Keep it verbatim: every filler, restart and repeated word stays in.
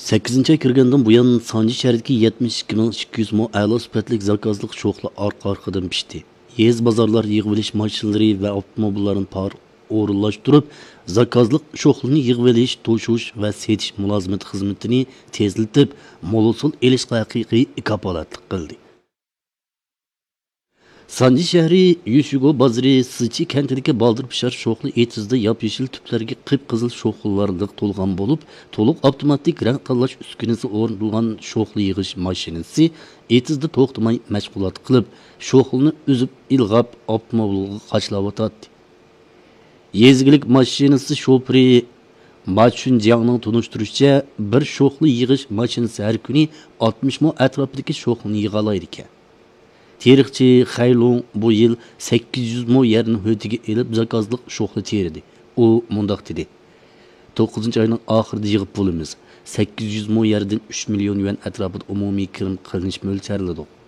سەككىزىنچى ئاي كىرگەندىن بۇيان، سانجى شەھىرىدىكى يەتمىش ئىككى مىڭ ئىككى يۈز مو ئەلا سۈپەتلىك زاكازلىق شوخلا ئارقا-ئارقىدىن پىشتى. يېزا بازارلار يىغىۋېلىش ماشىنىلىرى ۋە ئاپتوموبىللارنى پار ئورۇنلاشتۇرۇپ، زاكازلىق شوخلىنى يىغىۋېلىش، توشۇش ۋە سېتىش مۇلازىمەت خىزمىتىنى تېزلىتىپ، مول ھوسۇل ئېلىشقا ھەقىقىي كاپالەتلىك قىلدى. سانجى شەھىرى يۈشۈگو بازىرى سىچى كەنتىدىكى بالدۇر پىشار شوخلا ئېتىزىدا ياپيېشىل تۈپلەرگە قىپقىزىل شوخلىلار لىق تولغان بولۇپ، تولۇق ئاپتوماتىك رەڭ تاللاش ئۈسكۈنىسى ئورنىتىلغان شوخلا يىغىش ماشىنىسى ئېتىزدا توختىماي مەشغۇلات قىلىپ، شوخلىنى ئۈزۈپ ئىلغاپ، ئاپتوموبىلغا قاچىلاۋاتاتتى. يېزا ئىگىلىك ماشىنىسى شوپۇرى ما چۈنجياڭنىڭ تونۇشتۇرۇشىچە، بىر شوخلا يىغىش ماشىنىسى ھەر كۈنى ئاتمىش مو ئەتراپىدىكى شوخلىنى يىغالايدىكەن. تېرىقچى خەيلۇڭ بۇ يىل سەككىز يۈز مو يەرنى ھۆددىگە ئېلىپ، زاكازلىق شوخلا تېرىدى. ئۇ مۇنداق دېدى: «توققۇزىنچى ئاينىڭ ئاخىرىدا يىغىپ بولىمىز. سەككىز يۈز مو يەردىن ئۈچ مىليون يۈەن ئەتراپىدا ئومۇمىي كىرىم قىلىنىش مۆلچەرلىدۇق.»